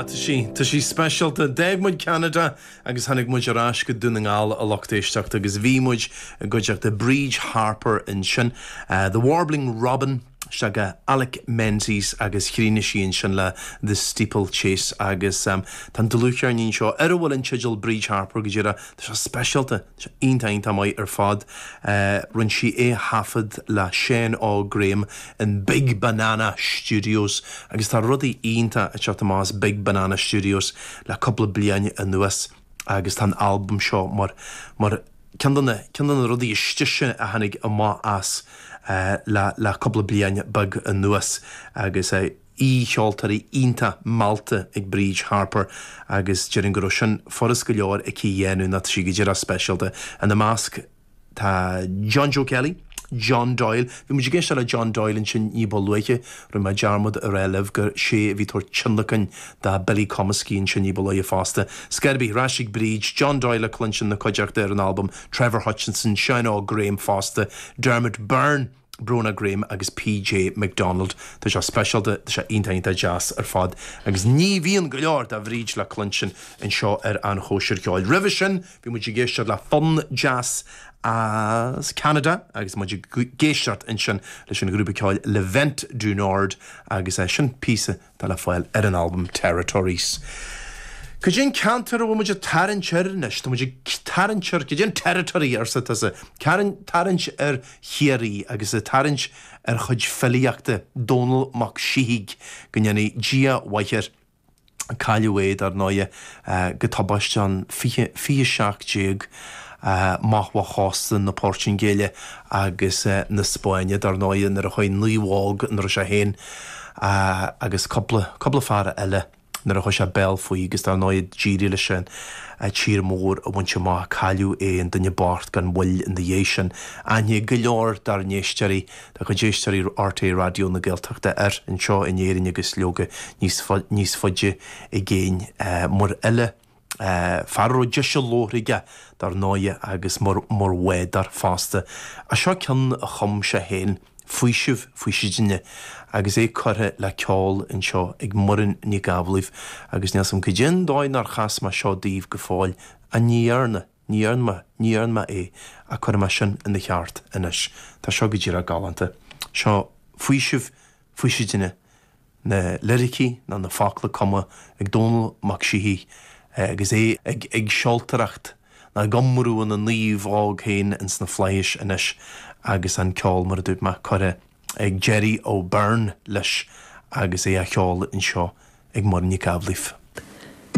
Ah, tá sí, tá sí speisialta. D'fhág muid Ceanada agus tháinig muid ar ais go Dún na nGall, a lucht éisteachta, agus bhí muid i gcuideachta Bríd Harper ansin, The Warbling Robin, isteach go Alec Menzies agus chríochnaigh sí ansin le The Steeplechase agus tá an dlúthcheirnín seo ar a bhfuil an teideal Bríd Harper go díreach, tá sé speisialta, tá sé iontach iontach maith ar fad. Rinne sí é a thaifead le Seán Óg Graham in Big Banana Studios agus tá rudaí iontach ag teacht amach as Big Banana Studios le cúpla bliain anuas agus tá an albam seo mar mar ceann de na ceann de na rudaí is deise a tháinig amach as le le cúpla bliain beag anuas agus aoi-cheoltóirí iontach meallta ag Bríd Harper agus déarfainn go raibh sin furast go leor aici a dhéanamh nó tá sí go díreach speisialta. Ina measc tá John Joe Kelly, John Doyle, bhí muid ag éisteacht le John Doyle ansin ní ba luaithe, rinne mé dearmad a rá libh gur sé a bhí ag tabhairt tionlacain do Billy Comiskey ansin ní ba luaithe fosta. Scor ar bith, ar ais ag Bríd, John Doyle le cluinstin ina cuideachta ar an albam, Trevor Hutchinson, Seán Óg Graham fosta, Dermot Byrne, Bronagh Graham agus PJ McDonald. Tá sé speisialta, tá sé iontach iontach deas ar fad agus ní bhíonn go leor de Bhríd le cluinstin anseo ar An Chóisir Cheoil. Roimhe sin bhí muid ag éisteacht le fonn deas as Ceanada agus muid ag éisteacht ansin leis an ghrúpa ceoil Le Vent du Nord agus sin píosa atá le fáil ar an albam Territories. Cad é an ceantar a bhfuil muid ag tarraingt air anois? Tá muid ag tarraingt ar, cad é an territory arsa tusa? Tarraingt ar Chiarraí agus ag tarraingt ar chuid filíochta Dónall Mac Síthigh, go ndéanfaidh Dia mhaith air. Cailleadh é, dar ndóighe, go tubaisteach an 2017 amach ó chósta na Portaingéile agus na Spáinne, dar ndóighe, nuair a chuaigh naomhóg ina raibh sé féin agus cúpla, cúpla fear eile, nuair a chuaigh sé béal faoi agus dar ndóighe d'éirigh leis an tír mór a bhaint amach. Cailleadh é, an duine bocht, gan mhoill ina dhiaidh sin. Aithne go leor dár n-éisteoirí, dá chuid éisteoirí RTÉ Raidió na Gaeltachta air anseo in Éirinn agus leoga níos níos faide i gcéin. Mar fhile, fear a raibh deis a labhartha aige dar ndóighe agus mar mar bhádóir fosta. Ach seo ceann a chum sé féin, Faoiseamh Faoisidine, agus é curtha le ceol anseo ag Muireann Nic Amhlaoibh agus níl 's a'm cad é an dóigh nár chas mé seo daoibh go fóill, ach ní dhearna. Ní dhearna mé, ní dhearna mé é, ach cuirfidh mé sin ina cheart anois. Tá seo go díreach galánta. Seo Faoiseamh Faoisidine, na liricí nó na focla cumtha ag Dónall Mac Síthigh agus é ag ag seoltóireacht nó ag iomrú ina naomhóg féin ins na flaithis anois agus an ceol, mar a dúirt mé, curtha ag Gerry O'Beirne leis agus é á cheol anseo ag Muireann Nic Amhlaoibh.